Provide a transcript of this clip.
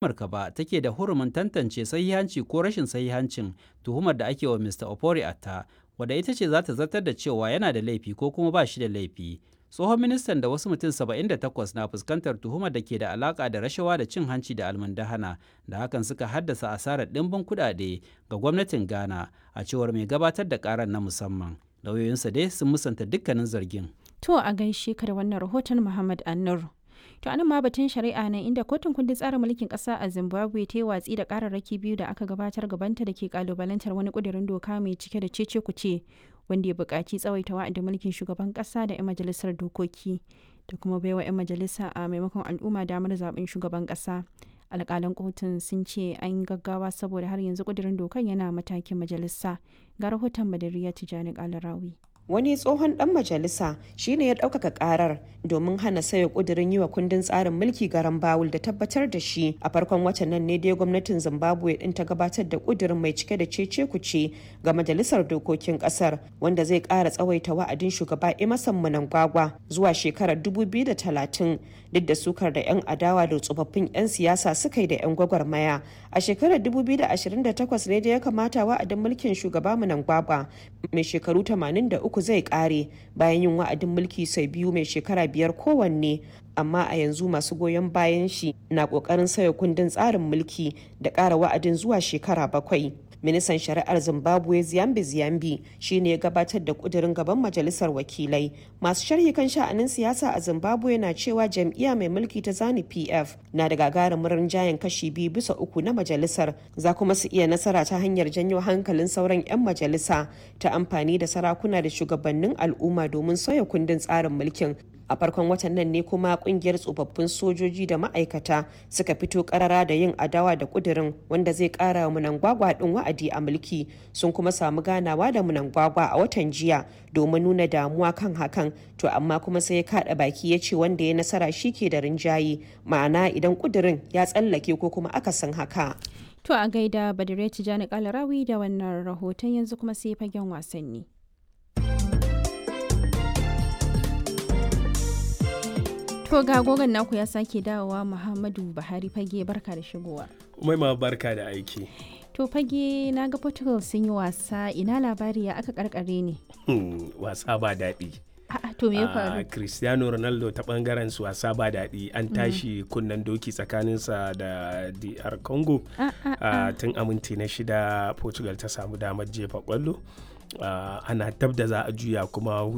Amurka ba take da hurumin tantance sahihanci ko rashin sahihancin tuhumar da ake wa Mr. Ofori-Atta, wadda ita ce za ta zartar da cewa yana da laifi ko kuma ba shi da laifi. Tsohon ministan da wasu mutum 78 na fuskantar tuhumar da ke da alaka da rashawa da cin hanci da almundahana da hakan suka haddasa asarar ɗimbin kuɗaɗe ga gwamnatin Ghana, a cewar mai gabatar da ƙarar na musamman. Lauyoyinsa dai sun musanta dukkanin zargin. To a gaishe ka da wannan rahoton Muhammad Annur. To anan ma batun shari'a nan inda kotun kundin tsarin mulkin kasa a Zimbabwe ta yi watsi da kararraki biyu da aka gabatar gabanta da ke kalubalantar wani kudirin doka mai cike da cece kuce wanda ya buƙaci tsawaita wa'adin mulkin shugaban kasa da 'yan majalisar dokoki da kuma baiwa 'yan majalisa a maimakon al'umma damar zaben shugaban kasa. Alƙalan kotun sun ce an gaggawa saboda har yanzu kudirin dokan yana matakin majalisa. Ga rahoton Badariya Tijani Kalarawi. Wani tsohon dan majalisa shine ya ɗaukaka karar domin hana sauya ƙudurin yi wa kundin tsarin mulki garan bawul da tabbatar da shi. A farkon watan nan ne dai gwamnatin Zimbabwe din ta gabatar da ƙudurin mai cike da cece kuce ga majalisar dokokin ƙasar, wanda zai ƙara tsawaita wa'adin shugaba Emerson Mnangagwa zuwa shekarar 2030, duk da sukar da 'yan adawa da tsofaffin 'yan siyasa suka yi da 'yan gwagwarmaya. A shekarar 2028 ne da ya kamata wa'adin mulkin shugaba Mnangagwa mai shekaru 83 zai kare bayan yin wa'adin mulki sau biyu mai shekara 5 kowanne, amma a yanzu masu goyon bayan shi na kokarin sauya kundin tsarin mulki da ƙara wa'adin zuwa shekara 7. Ministan shari'ar Zimbabwe Ziyambi Ziyambi shine ya gabatar da kudirin gaban majalisar wakilai. Masu sharhi kan sha'anin siyasa a Zimbabwe na cewa jam'iyya mai mulki ta Zanu PF na da gagarumin rinjayen kashi 2 bisa 3 na majalisar, za kuma su iya nasara ta hanyar janyo hankalin sauran 'yan majalisa ta amfani da sarakuna da shugabannin al'umma domin sauya kundin tsarin mulkin. A farkon watan nan ne kuma kungiyar tsofaffin sojoji da ma'aikata suka fito karara da yin adawa da kudirin wanda zai kara wa Munangwagwa din wa'adi a mulki. Sun kuma samu ganawa da Munangwagwa a watan jiya domin nuna damuwa kan hakan. To amma kuma sai ya kada baki ya ce wanda ya nasara shi ke da rinjaye, ma'ana idan kudirin ya tsallake ko kuma akasin haka. To a gaida Badire Tijani Kalarawi da wannan rahoton. Yanzu kuma sai fagen wasanni. To ga gogon naku ya sake dawowa, Muhammadu Buhari Fage, barka da shigowa. Umaima, barka da aiki. To Fage, na ga Portugal sun yi wasa, ina labari, ya aka karkare ne? Wasa ba daɗi. A'a, to me ya faru? Cristiano Ronaldo ta bangaren su wasa ba daɗi, an tashi kunnen doki tsakaninsa da DR Congo. Tun aminti na 6 Portugal ta samu damar jefa kwallo. Ana dab da za a juya kuma